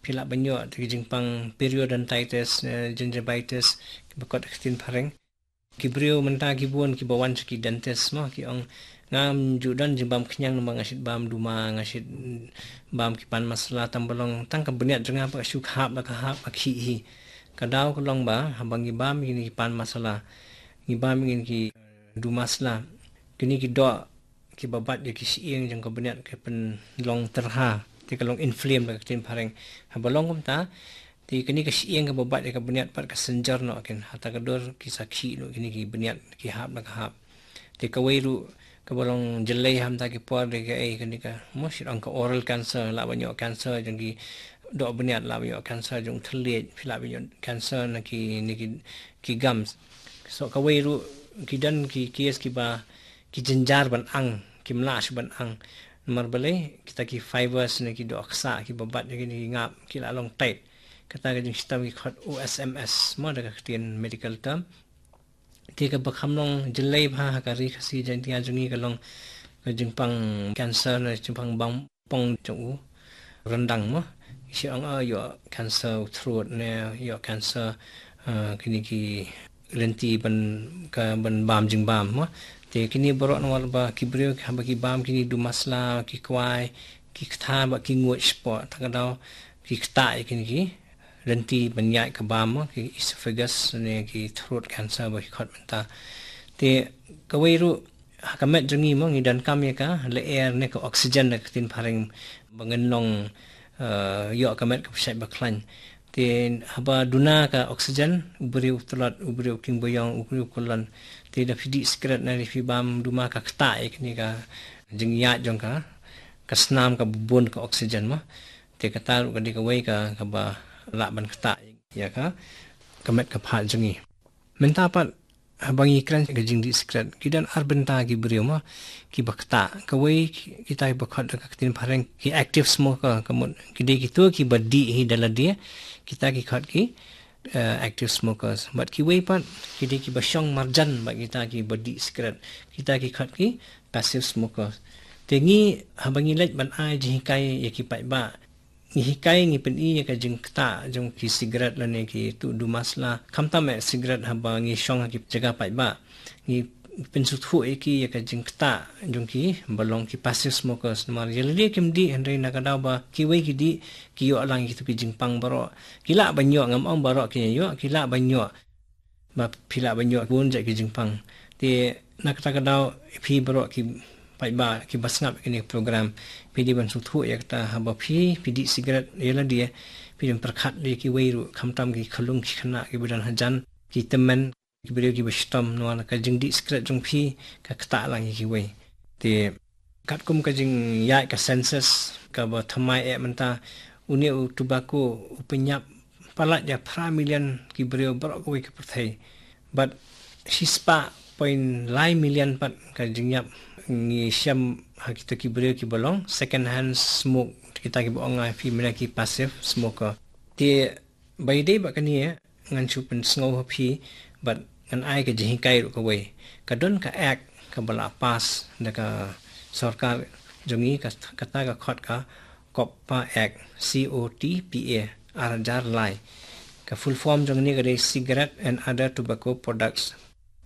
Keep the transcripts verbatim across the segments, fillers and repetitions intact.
Phi lah ban ïoh ki jingpang periodontitis, eh, gingivitis, kiba kot ha ka ktien phareng. Ki briew mynta ki bun kiba wan sha ki dentist mo, ki ong, ngam ju don jingbam khñiang namar nga shait bam duma, nga shait bam ki pan masala, tang ba long tang ka bniat jong nga pat ka shu khap la ka hap, ka khih hi. Ka daw ka long ba haba ngi bam kine ki pan masala, ngi bam kine ki, eh, duma sla, kine ki doh kiba bat ïa ki shyieng jong ka bniat ki pynlong tyrha, te ka long inflamed da ka ktien phareng. Haba long kumta, te kane ka shyieng kaba bat ïa ka bniat pat ka synjor noh kin, ha ta ka dur ki sa khih noh kine ki bniat, ki hap la ka hap. Te kawei ruh kaba long jyllei ha mynta ki por de kaei, kane ka, mo, shait ong ka oral cancer, lah ban ïoh cancer jong ki doh bniat, lah ban ïoh cancer jong thylliej, phi lah ban ïoh cancer na kine ki, ki gums. So kawei ruh ki don ki case kiba ki jynjar ban ang, kim lah shuh ban ang. Namar balei? Kita ki fibers ne ki doh ksah kiba bat ïa kine ki ngap ki la long tight. Kata ka jingshitom ki khot O S M S, mo, da ka ktien medical term. Te kaba kham long jyllei bha ha ka Ri Khasi Jaiñtia jong ngi ka long ka jingpang cancer ne jingpang bam pong jong u ryndang mo. Ki shait ong, ah, ïoh cancer u throat ne, ïoh cancer, ah, kine ki lynti ban, ka ban bam jingbam mo. Te kine baroh namar ba ki briew haba ki bam kine duma sla, ki kwai, ki kta bad ki nguid spot, ta ka daw ki kta ïa kine ki lynti ban ïaid ka bam mo, ki esophagus ne ki throat cancer ba ki khot mynta. Te kawei ruh ha ka met jong ngi mo, ngi donkam ïa ka lyer ne ka oxygen da ka ktien phareng ba ngin long, eh, ïoh ka met kaba shait ba khlaiñ. Te haba duna ka oxygen, u briew u tlot, u briew u king ba ïong, u briew u kyllon. Te da phi dih sikret ne da phi bam duma ka kta ïa kane ka jingïaid jong ka, ka snam kaba bun ka oxygen mo. Te kata ruh ka dei kawei ka, kaba lah ban kta ïa ka, ka met ka phad jong ngi. Mynta pat haba ngi kren ka jingdih sikret, ki don ar bynta ki briew mo kiba kta. Kawei ki, kita kiba khot da ka ktien phareng ki active smoker, ka mut ki dei kito kiba dih hi da lade, kita ki khot ki, eh, active smokers. Bad kiwei pat ki dei kiba shong marjan bad kita kiba dih sikret, kita ki khot ki passive smokers. Te ngi haba ngi leit ban ai jinghikai ïa ki paidbah, ngi hikai, ngi pyni ïa ka jingkta jong ki sikret lane ki tu duma sla. Khamtam eh sikret, haba ngi shong ha ki jaka paidbah, ngi pynsngewthuh ïa ki ïa ka jingkta jong ki ba long ki passive smokers. Namar ïa lade kim dih, hynrei na ka daw ba kiwei ki dih, ki ïoh lang ïa kitu ki jingpang baroh. Ki lah ban ïoh, ngam ong baroh kin ïoh, ki lah ban ïoh. Ba phi lah ban ïoh bun jait ki jingpang. Te na kata ka daw phi baroh ki paidbah kiba sngap ïa kane ka program, phi dei ban sngewthuh ïa kata, haba phi, phi dih sikret ïa lade, phi dei ban pyrkhat ïa kiwei ruh, khamtam ki khyllung ki khynnah kiba don hajan, ki tymmen, ki briew kiba shitom, namar ka jingdih sikret jong phi ka kta lang ïa kiwei. Te katkum ka jingïaid ka census kaba thymmai eh mynta, une u tobacco u pynïap palat ïa phra million ki briew baroh kawei ka pyrthei. Bad shispah point lai million pat ka jingïap ngi shem ha kita ki briew kiba long second hand smoke, kita kiba ong ïa phi mynta ki passive smoker. Te ba ïadei bad kane, ngan shu pynsngew ha phi bad ngan ai ka jinghikai ruh kawei. Ka don ka act kaba la pass da ka sorkar jong ngi, ka, kata ka khot ka COTPA Act, C O T P A, ar hajar lai. Ka full form jong ne ka dei Cigarette and Other Tobacco Products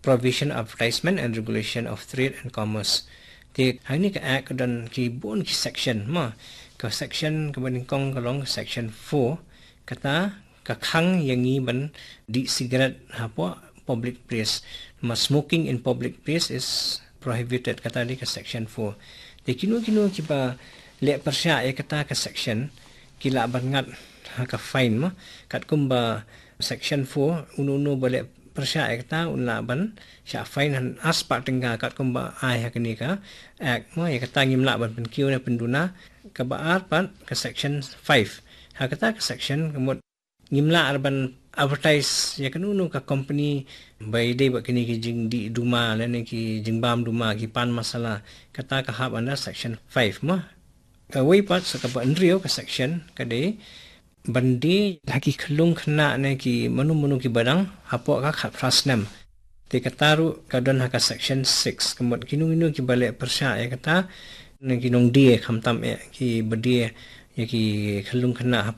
Provision, Advertisement and Regulation of Trade and Commerce. Te ha kane ka act ka don ki bun ki section mo. Ka section kaba nyngkong ka long section four, kata ka khang ïa ngi ban dih sikret hapoh public place. Ma smoking in public place is prohibited, kata dei ka section four. Te kino kino kiba leh pyrshah ïa kata ka section ki lah ban ngat ha ka fine mo. Katkum ba section four, uno uno ba leh pyrshah ïa kata un lah ban shah fine ha ar spah tyngka, katkum ba ai ha kane ka act mo. Ïa kata ngim lah ban pynkiew ne pynduna. Kaba ar pat ka section five. Ha kata ka section ka mut ngim lah ar ban advertise ïa kano kano ka company ba ïadei bad kine ki jingdih duma lane ki jingbam duma, ki pan masala. Kata ka hap under section five mo. Kawei pat, sa kaba hynriew ka section ka dei ban die ha ki khyllung khynnah ne ki mano mano kiba dang hapoh ka khatphra snem. Te kata ruh ka don ha ka section six, ka mut kino kino kiba leh pyrshah ïa kata, ne ki nongdie khamtam eh, kiba die ïa ki khyllung khynnah hapoh